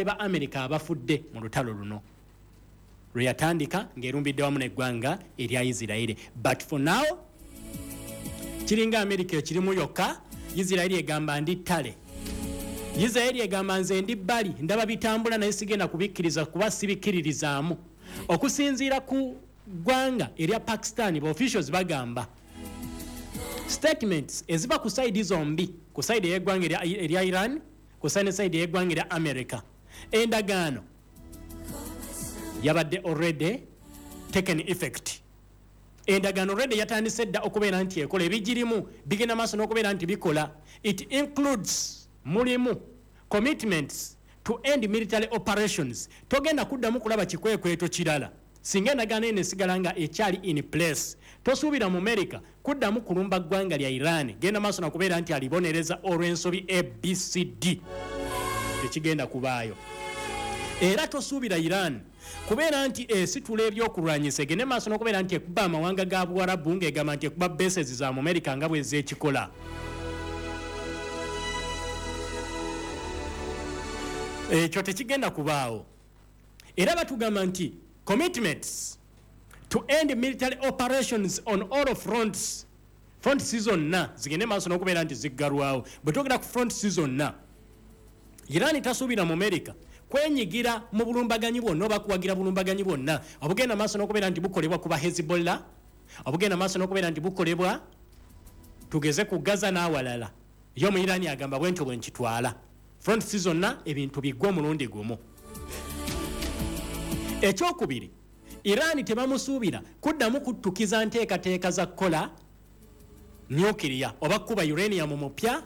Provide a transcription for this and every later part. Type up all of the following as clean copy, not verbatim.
Ba America abafudde mu lutalo luno lwe yatandika ng'erumbidde wamu n'eggwanga erya Isiraeri. But for now kiringa America ekirimu yokka. Isiraeri egamba ndi ttale, Isiraeri egamba nze ndi bbali, ndaba bitambula naye sigenda kubikkiriza kuba sibikkiririzaamu. Okusinziira ku ggwanga erya Pakistan, ba officials bagamba statements eziva ku side zombi, ku side ey'eggwanga erya Iran, ku side ey'eggwanga erya America, endagaano yabadde already taken effect. Endagaano already yatandise dda okubeera nti ekola, ebigirimu bigenda maaso n'okubeera nti bikola. It includes, mulimu commitments to end military operations. Togenda kuddamu kulaba kikwekweto kirala singa endagaano eno esigala nga ekyali in place. Tosuubira mu America kuddamu kulumba ggwanga lya Iran, genda maaso nakubeera nti alibonereza olw'ensobi ABCD, tekigenda kubaayo. Era tosuubira Iran kubeera nti esitula ebyokulwanyisa egende maaso n'okubeera nti ekuba amawanga ga Buwarabu ng'egamba nti ekuba bases za mu America nga bwezekikola. Ekyo tekigenda kubaawo. Era batugamba nti commitments to end military operations on all fronts, fronts zonna zigende maaso n'okubeera nti ziggalwawo. Bwe twogera ku fronts zonna, Iran tasuubira mu America kwenyigira mu bulumbaganyi bwonna oba kuwagira bulumbaganyi bwonna obugenda maaso n'okubeera nti bukolebwa ku ba Hezbollah, obugenda maaso n'okubeera nti bukolebwa tugeze ku Gaza n'awalala. Yo mu Iran agamba bwentyo bwe nkitwala, fronts zonna ebintu biggwa omulundi gumu. Ekyokubiri, Iran tebamusuubira kuddamu kuttukiza nteekateeka za kukola nuclear oba kukuba uranium mupya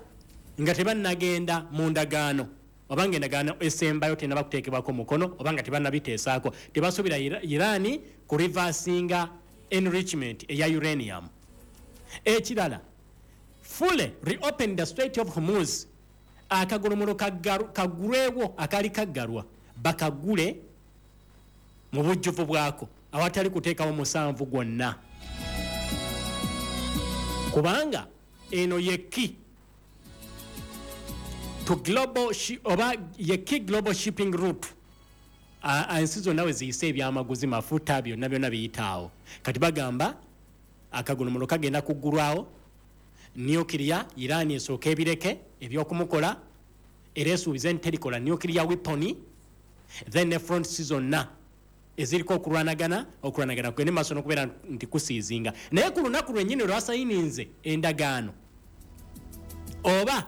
nga tebannagenda mu ndagaano, oba nga endagaano esembayo tennaba kuteekebwako mukono oba nga tebannabiteesaako. Tebasuubira Iran ku reversinga enrichment eya uranium. Ekirala, fully reopen the Strait of Hormuz, akagolomolo kaggulwewo akaali kaggalwa bakagule mu bujjuvu bwako awatali kuteekawo musanvu gwonna, kubanga eno ye key to global oba ye key global shipping route. Ensi zonna we ziyise ebyamaguzi, mafuta, byonna byonna biyitaawo. Kati bagamba akagolomolo kagenda kuggulwawo, nuclear Iran esooka ebireke ebyokumukola, era esuubize nti terikola nuclear weapon. Then ne fronts zonna eziriko okulwanagana, okulwanagana kugende maaso n'okubeera nti kusiizinga. Naye ku lunaku lwennyini lwasayininze endagaano, oba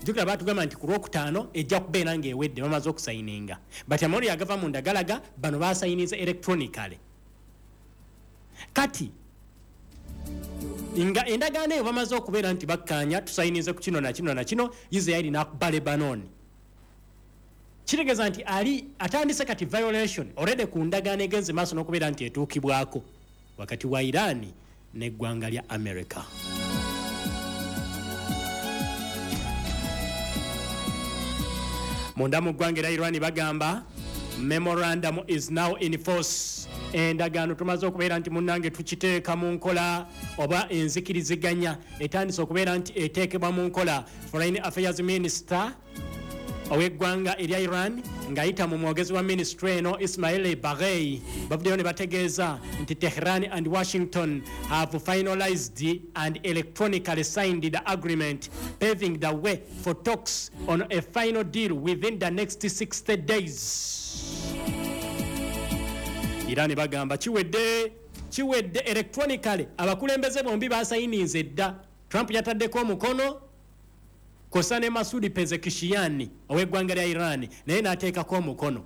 jjukira baatugamba nti ku Lwokutaano ejja kubeera ng'ewedde, bamaze okusayininga, but amawulire agava mu ndagalaga bano basayininze electronically. Kati nga endagaano eyo bamaze okubeera nti bakkaanya, tusayinize ku kino na kino na kino, Israeli n'akuba Lebanon, kitegeeza nti ali atandise kati violation already ku ndagaano egenze maaso n'okubeera nti etuukibwako wakati wa Iran n'eggwanga lya America. Munda mu ggwanga era Iran bagamba memorandum is now in force, endagaano tumaze okubeera nti munnange tukiteeka mu nkola, oba enzikiriziganya etandise okubeera nti eteekebwa mu nkola. Foreign Affairs Minister ow'eggwanga erya Iran ng'ayita mu mwogezi wa minisitule eno Ismail Baghei bavuddeyo ne bategeeza nti Tehran and Washington have finalized and electronically signed the agreement, paving the way for talks on a final deal within the next 60 days. Iran bagamba kiwedde, kiwedde electronically, abakulembeze bombi basayininze dda. Trump yataddeko omukono kosa ne Masudi Pezeshkian ow'eggwanga lya Iran naye n'ateekako omukono.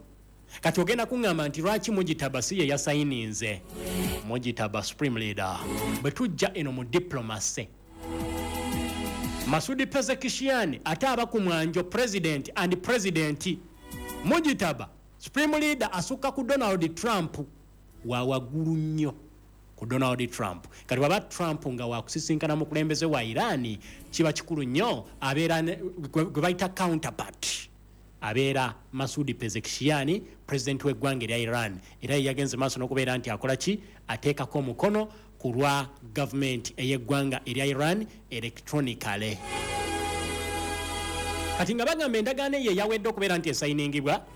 Kati ogenda kuŋŋamba nti lwaki Mujitaba si ye yasayininze? Mujitaba supreme leader. Bwe tujja eno mu diplomacy, Masudi Pezeshkian ate aba ku mwanjo president and president. Mujitaba supreme leader asukka ku Donald Trump, wa waggulu nnyo ku Donald Trump. Kati bw'aba Trump nga wakusisinkana mukulembeze wa Iran, kiba kikulu nnyo abeera gwe bayita counterpart, abeera Masudi Pezeshkian, president w'eggwanga erya Iran, era ye yagenze maaso n'okubeera nti akola ki, ateekako omukono ku lwa gavumenti ey'eggwanga erya Iran electronically. Kati nga bagamba endagaano eyo eyawedde okubeera nti esayiningibwa.